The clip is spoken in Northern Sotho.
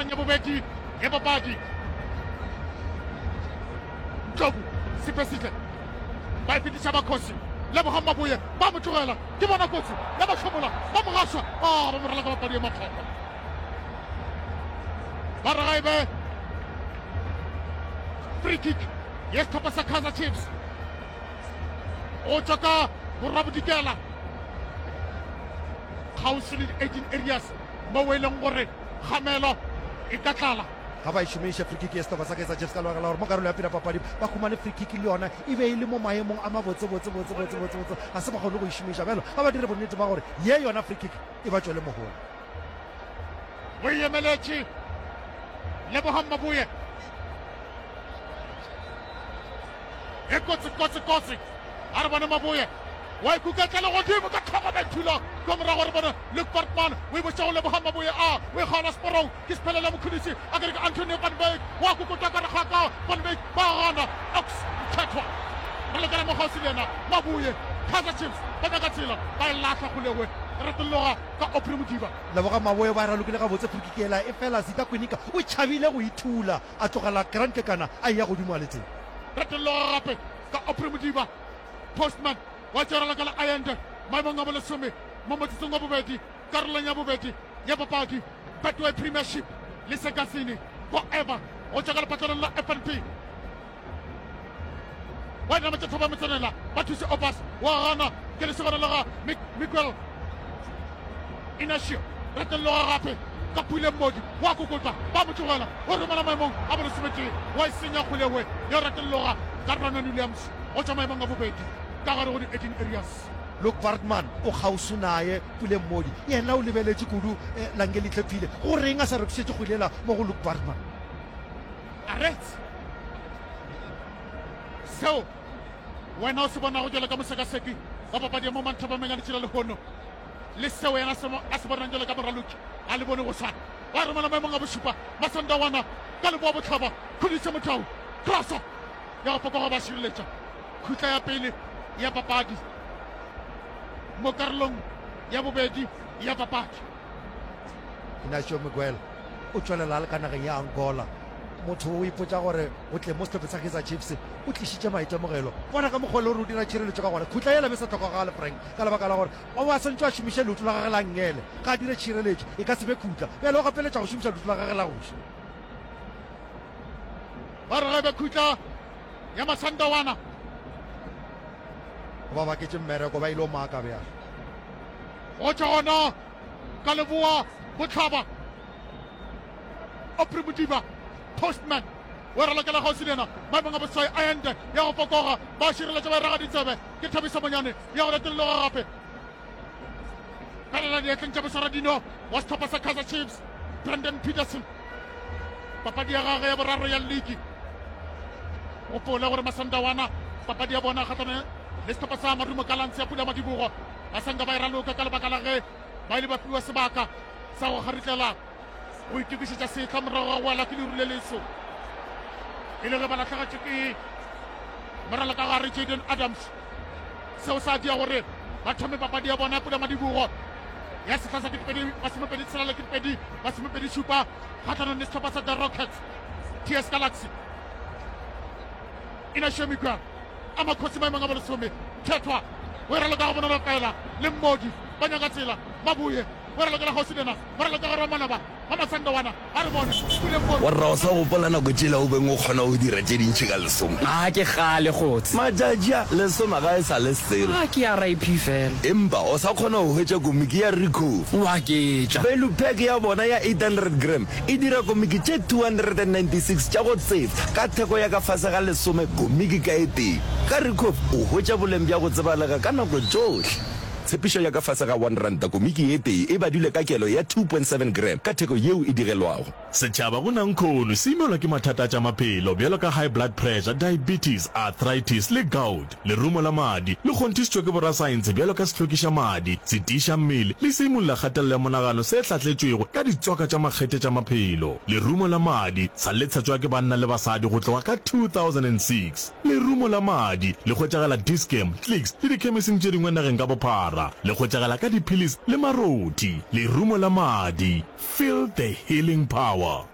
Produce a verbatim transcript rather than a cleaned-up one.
karolong ya bobedi ya papadi. Ndlovu Siphesihle ba e fetiša Bakhosi. Lebogang Maboye ba mo tlogela, ke bona kotsi ya ba hlomola, ba mo gaša, ah, ba mo rala ka papadi ya makgwakgwa. Ba re ga e be free kick ya sehlopha sa Kaizer Chiefs go tšwa ka borwa-bodikela kgauswi le di-eighteen areas moo e leng gore kgamelo e ka tlala. Ga ba e šomiše free kick ya sehlopha sa Kaizer Chiefs ka lebaka la gore mo karolo ya pele ya papadi ba humane free kick le yona e be e le mo maemong a mabotse botse botse botse botse botse ga se ba kgone go e šomiša. Bjalo ga ba dire bonnete ba gore ye yona free kick e ba tšwele mohola. O e emeletše Lebogang Maboye. E kotsi kotsi kotsi. A re bone Maboye wa ikuketla le godimo ka tlhogo Bethula kwa morago re bone Luke Bartman o e botša go leboga Maboye a o e kgaola seporong ke Sephelele Mokhunisi a kere ke Antonio Van Wyk wa kokota ka re gaka Van Wyk ba gana Ox Mthethwa re lokela mo kgauswi le yena Maboye Kaizer Chiefs ba nyaka tsela ba e lahla kgolegwe retologa ka Aubrey Modiba. Leboga Maboye ba ralokile gabotse frikiki yela efela Zita Kwinika o tšhabile go ithula a tlogela Grant Kekana a eya godimo a le tee. Retologa gape ka Aubrey Modiba. Postman wa tšerela ka la Allende maemong a bolesome mo motsotsong wa bobedi karolong ya bobedi ya papadi Betway Premiership le Sekasini Forever go tšwa ka lepatlelong la F N B. Wa dinama tša thoba motsenela ba thuse Obas wa gana ke lesogana la ga Miguel Inacio retelloga gape ka Pule Mmodi wa kokotla ba mo tlogela o romela maemong a bolesometee wa e senya kgolewe ya retelloga ka Ronan Williams go tšwa maemong a bobedi ka gare go di eighteen areas. Luke Baartman o kgauswi naye, Pule Mmodi yena o lebeletše kudu Langelihle Phile. Go reng a sa rekišetše kgwele yela mo go Luke Baartman? Aretse seo wena o se bonago jalo ka mosekaseki wa papadi ya mo Manthabameng a letšila lehono le seo yena a se bonang jalo ka moraloki a le bone go swana. Wa romela maemong a bošupa Masandawana ka leboa bohlaba Khudise Motau crossa ya go fokoga ba šireletša khutla ya pele ya papadi mo karolong ya bobedi ya papadi. Inacio Miguel o tšwelela a le ka nageng ya Angola. Motho o ipotša gore go tleng mo sehlopheng sa Kaizer Chiefs o tlišitše maitemogelo. Bona ka mokgwa o le gore o dira tšhireletšo ka gona. Khutla yela be sa hlokagale, Frank, ka lebaka la gore o be a swantšwe a šomiše leoto la gagwe la nngele ga a dire tšhireletšo. E ka se be khutla. Bjale o gapeletša go šomiša leoto la gagwe la go ja. Ba re ge be khutla ya Masandawana. Ba baketše mmereko ba ile o maka bjale. Go tšwa gona ka leboa bohlaba Aubrey Modiba Postman o ralokela kgauswi le yena maemong a boswai Ayande ya go fokoga ba šireletša ba e raga ditsebe ke Thabiso Monyane ya go retologa gape felela diatleng tša moswaradino wa sehlopha sa Kaizer Chiefs Brandon Peterson. Papadi ya gagwe ya boraro ya ligi. Gopola gore Masandawana papadi ya bona kgahlano le sehlopha sa Marumo Gallants ya Pula Madibogo ba sanka ba e raloka ka lebaka la ge ba ile ba fiwa sebaka sa go kgaritlela go itokišetša sehla morago ga go wela ke leru le leso e le ge ba lahlegetšwe ke moralo ka gare Jaden Adams. Seo sa dia gore ba thome papadi ya bona ya Pula Madibogo ya sehla sa ketepedi masomepedi tshela le ketepedi masomepedi šupa kgahlanong le sehlopha sa The Rockets T S Galaxy. Inacio Miguel a makgosi maemong a bolesome Thethwa o e raloka go bonolo fela le Mmodi ba nyaka tsela Maboye o e ralokela kgauswi le yena ba raloka gare wa manaba ba Masandawana a re bone Pule Mmodi. Warra o sa gopola nako tšela o beng o kgona go dira tše dintši ka lesome? A ke kgale kgotse. Matšatši a, lesome ga e sa le selo. A ke R I P fela. Empa o sa kgona go hwetša komiki ya Ricoh. O aketša. Value pack ya bona ya eight hundred gram e dira komiki tše two hundred and ninety-six tša go tsefa ka theko ya ka fase ga lesome komiki ka e tee. Ka Ricoh o hwetša boleng bja go tsebalega ka nako tšohle. Tshepišo ya ka fase ga one ranta komiki e tee e badilwe ka kelo ya two point seven gram ka theko yeo e digelwago. Setšhaba go nankhono se imelwa ke mathata a tša maphelo bjalo ka high blood pressure, diabetes, arthritis le gout. Lerumo la madi le kgonthišitšwe ke borasaense bjalo ka sehlwekiša madi, setiiša mmele le seimolla kgatelelo ya monagano se hlahletšwego ka ditswaka tša makgethe tša maphelo. Lerumo la madi sa le tshetšwa ke banna le basadi go tloga ka two thousand and six. Lerumo la madi le hwetšagala Dis-Chem, Clicks le dikhemising tše dingwe nageng ka bophara. Le hwetšagala ka diphilisi le marothi. Lerumo la madi, feel the healing power.